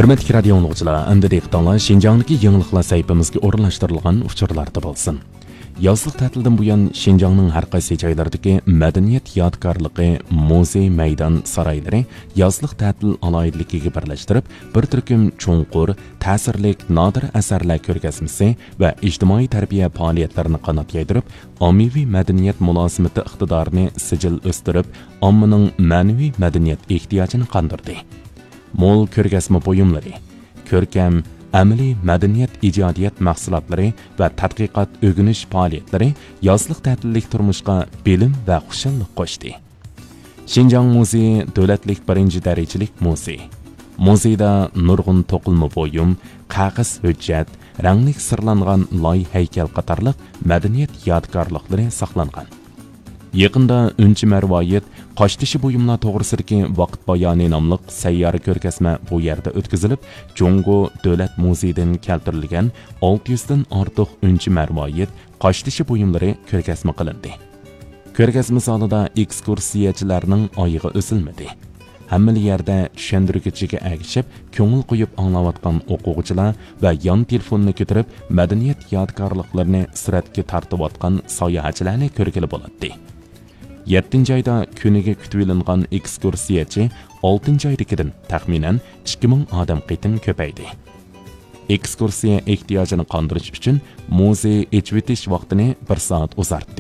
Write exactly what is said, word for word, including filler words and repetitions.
ھۆرمەتلىك رادىيو ئاڭلىغۇچىلار، ئەمدى دىققىتىڭلار شىنجاڭدىكى يېڭىلىقلار سەھىپىمىزگە ئورۇنلاشتۇرۇلغان ئۇچۇرلاردا بولسۇن. يازلىق تەتىلدىن بۇيان، شىنجاڭنىڭ ھەر قايسى جايلىرىدىكى مەدەنىيەت يادىكارلىقى، مۇزېي، مەيدان، سارايلىرى يازلىق تەتىل ئالاھىدىلىكىگە بىرلەشتۈرۈپ، بىر تۈركۈم چوڭقۇر، تەسىرلىك نادىر ئەسەرلەر كۆرگەزمىسى ۋە ئىجتىمائىي تەربىيە پائالىيەتلىرىنى قانات يايدۇرۇپ، ئاممىۋى مەدەنىيەت مۇلازىمىتى ئىقتىدارىنى سىجىل ئۆستۈرۈپ، ئاممىنىڭ مەنىۋى مەدەنىيەت ئېھتىياجىنى قاندۇردى. مول كۆرگەزمە بۇيۇملىرى، كۆركەم، ئەمەلىي مەدەنىيەت ئىجادىيەت مەھسۇلاتلىرى ۋە تەتقىقات ئۆگىنىش پائالىيەتلىرى يازلىق تەتىللىك تۇرمۇشقا بىلىم ۋە خۇشاللىق قوشتى. شىنجاڭ مۇزېيى دۆلەتلىك بىرىنچى دەرىجىلىك مۇزېي. مۇزېيدا نۇرغۇن توقۇلما بۇيۇم، قەغەز ھۆججەت، رەڭلىك سىرلانغان لاي ھەيكەل قاتارلىق مەدەنىيەت يادىكارلىقلىرى ساقلانغان. يېقىندا ئۈنچە مەرۋايىت، قاشتېشى بۇيۇملار توغرىسىدىكى ۋاقىت بايانى ناملىق سەييارە كۆرگەزمە بۇ يەردە ئۆتكۈزۈلۈپ، جۇڭگو دۆلەت مۇزېيىدىن كەلتۈرۈلگەن ئالتە يۈزدىن ئارتۇق ئۈنچە مەرۋايىت، قاشتېشى بۇيۇملىرى كۆرگەزمە قىلىندى. كۆرگەزمە زالىدا ئېكسكۇرسىيەچىلەرنىڭ ئايىغى ئۈزۈلمىدى. ھەممىلا يەردە چۈشەندۈرگۈچىگە ئەگىشىپ، كۆڭۈل قويۇپ ئاڭلاۋاتقان ئوقۇغۇچىلار ۋە يان تېلېفوننى كۆتۈرۈپ، مەدەنىيەت يادىكارلىقلىرىنى سۈرەتكە تارتىۋاتقان ساياھەتچىلەرنى كۆرگىلى بولاتتى. يەتتىنچى ئايدا كۈنىگە كۈتۈۋېلىنغان ئېكسكۇرسىيەچى ئالتىنچى ئايدىكىدىن تەخمىنەن ئىككى مىڭ ئادەم قېتىم كۆپەيدى. ئېكسكۇرسىيە ئېھتىياجىنى قاندۇرۇش ئۈچۈن مۇزېي ئېچىۋېتىش ۋاقتىنى بىر سائەت ئۇزارتتى.